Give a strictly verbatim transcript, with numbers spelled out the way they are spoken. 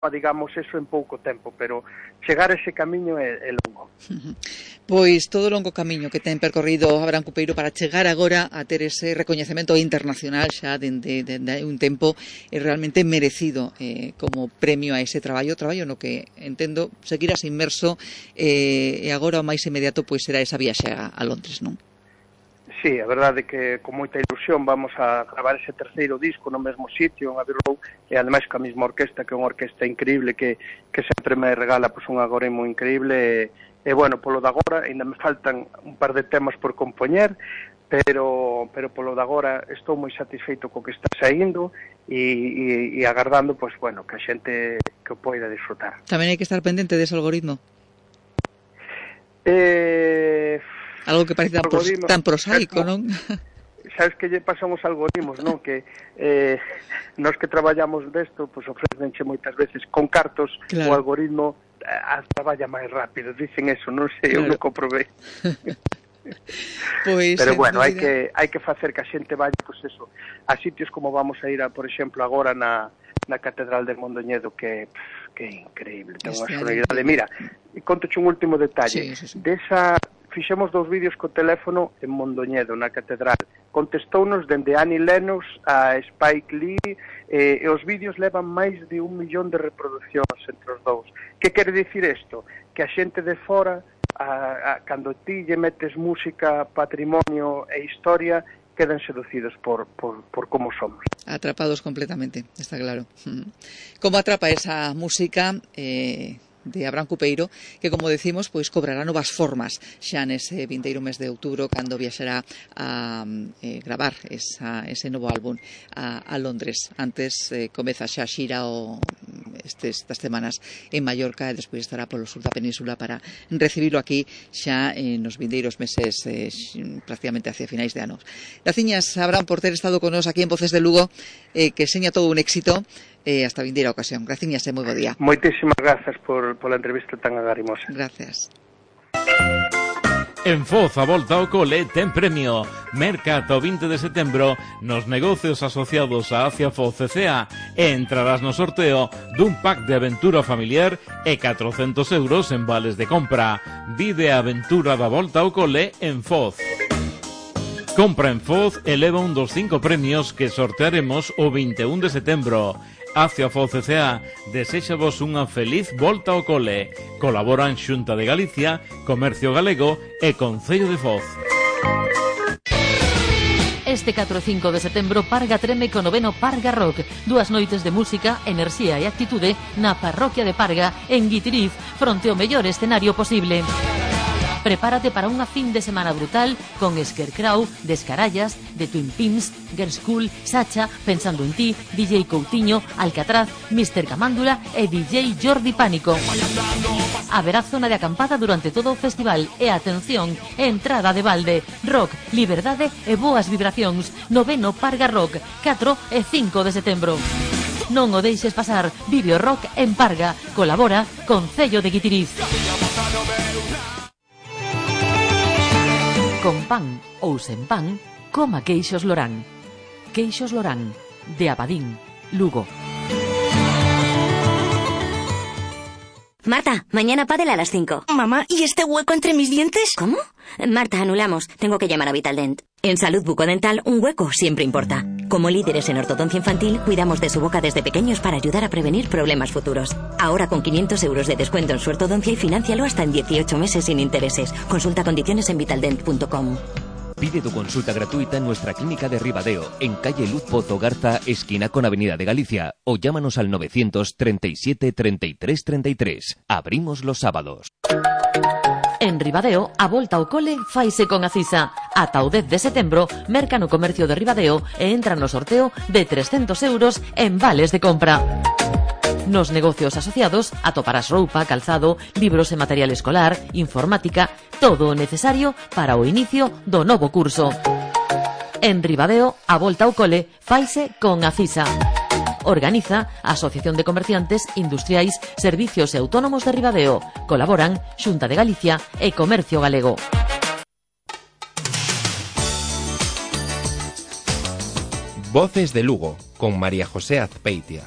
digamos, eso en pouco tempo, pero chegar a ese camiño é, é longo. Pois todo o longo camiño que ten percorrido Abraham Cupeiro para chegar agora a ter ese recoñecemento internacional xa dende de, de, de un tempo é realmente merecido eh, como premio a ese traballo, traballo no que entendo seguirás inmerso eh, e agora o máis inmediato pois será esa viaxe a, a Londres, non? Sí, a verdade é que con moita ilusión vamos a gravar ese terceiro disco no mesmo sitio, en Abbey Road, e ademais ca mesma orquesta, que é unha orquesta increíble, que, que sempre me regala pues, un agoremo increíble, e, e bueno, polo de agora, ainda me faltan un par de temas por compoñer, pero, pero polo de agora estou moi satisfeito co que está saindo, e, e, e agardando, pues, bueno, que a xente que o poida disfrutar. Tamén hai que estar pendente dese algoritmo? Eh... Algo que parece tan, pros, tan prosaico, non? Sabes que lle pasan os algoritmos, non? Que eh, nós que traballamos desto, pues ofrecenche moitas veces con cartos, claro. O algoritmo eh, traballa máis rápido, dicen eso, non sei, claro. Eu non comprobei. Pues, pero bueno, hai que hai que facer que a xente vaya, pues eso, a sitios como vamos a ir a, por exemplo, agora na na Catedral del Mondoñedo, que que é increíble, ten unha sonoridade. Mira, contoche un último detalle. Sí, sí, sí. Desa fixemos dous vídeos co teléfono en Mondoñedo, na Catedral. Contestounos dende Annie Lennox a Spike Lee, eh, e os vídeos levan máis de un millón de reproduccións entre os dous. Que quere dicir isto? Que a xente de fora, a, a, cando ti lle metes música, patrimonio e historia, quedan seducidos por, por, por como somos. Atrapados completamente, está claro. Como atrapa esa música... Eh... de Abraham Cupeiro, que, como decimos, pois cobrará novas formas xa nese vindeiro mes de outubro, cando viaxará a eh, gravar esa, ese novo álbum a, a Londres. Antes eh, comeza xa xira o, estes, estas semanas en Mallorca e despois estará polo sur da península para recibilo aquí xa en os vindeiros meses eh, prácticamente hacia finais de anos. Graciñas, Abraham, por ter estado con nos aquí en Voces de Lugo, eh, que seña todo un éxito. Eh, hasta vindeira ocasión. Graciñas e moi bo día. Moitísimas grazas por, por a entrevista tan agarimosa. Gracias. En Foz, a volta ao cole ten premio. Merca ata o vinte de setembro nos negocios asociados a Acia Foz C C A e entrarás no sorteo dun pack de aventura familiar e catrocentos euros en vales de compra. Vive a aventura da volta ao cole en Foz. Compra en Foz e leva un dos cinco premios que sortearemos o vinte e un de setembro. Acia Foz C C A deséxavos unha feliz volta ao cole. Colaboran Xunta de Galicia, Comercio Galego e Concello de Foz. Este catro e cinco de setembro Parga treme co noveno Parga Rock. Dúas noites de música, enerxía e actitude na parroquia de Parga, en Guitiriz, fronte ao mellor escenario posible. Prepárate para unha fin de semana brutal con Scarecrow, Descarallas, The Twin Pimps, Girls School, Sacha, Pensando en ti, D J Coutinho, Alcatraz, mister Camándula e D J Jordi Pánico. Haberá zona de acampada durante todo o festival e, atención, entrada de balde, rock, liberdade e boas vibracións. Noveno Parga Rock, catro e cinco de setembro. Non o deixes pasar, vive o rock en Parga. Colabora Concello de Guitiriz. Con pan ou sen pan, coma queixos Lorán. Queixos Lorán, de Abadín, Lugo. Marta, mañana pádel a las cinco. Mamá, ¿y este hueco entre mis dientes? ¿Cómo? Marta, anulamos. Tengo que llamar a Vitaldent. En Salud Bucodental, un hueco siempre importa. Como líderes en ortodoncia infantil, cuidamos de su boca desde pequeños para ayudar a prevenir problemas futuros. Ahora con quinientos euros de descuento en su ortodoncia y financialo hasta en dieciocho meses sin intereses. Consulta condiciones en vitaldent punto com. Pide tu consulta gratuita en nuestra clínica de Ribadeo, en calle Luz Pozo Garza, esquina con Avenida de Galicia, o llámanos al novecientos treinta y siete treinta y tres treinta y tres. Abrimos los sábados. En Ribadeo, a volta ao cole faise con Acisa. Ata o dez de setembro, merca no comercio de Ribadeo e entra no sorteo de trescentos euros en vales de compra. Nos negocios asociados atoparás roupa, calzado, libros e material escolar, informática, todo o necesario para o inicio do novo curso. En Ribadeo, a volta ao cole faise con Acisa. Organiza a Asociación de Comerciantes, Industriais, Servicios e Autónomos de Ribadeo. Colaboran Xunta de Galicia e Comercio Galego. Voces de Lugo, con María José Azpeitia.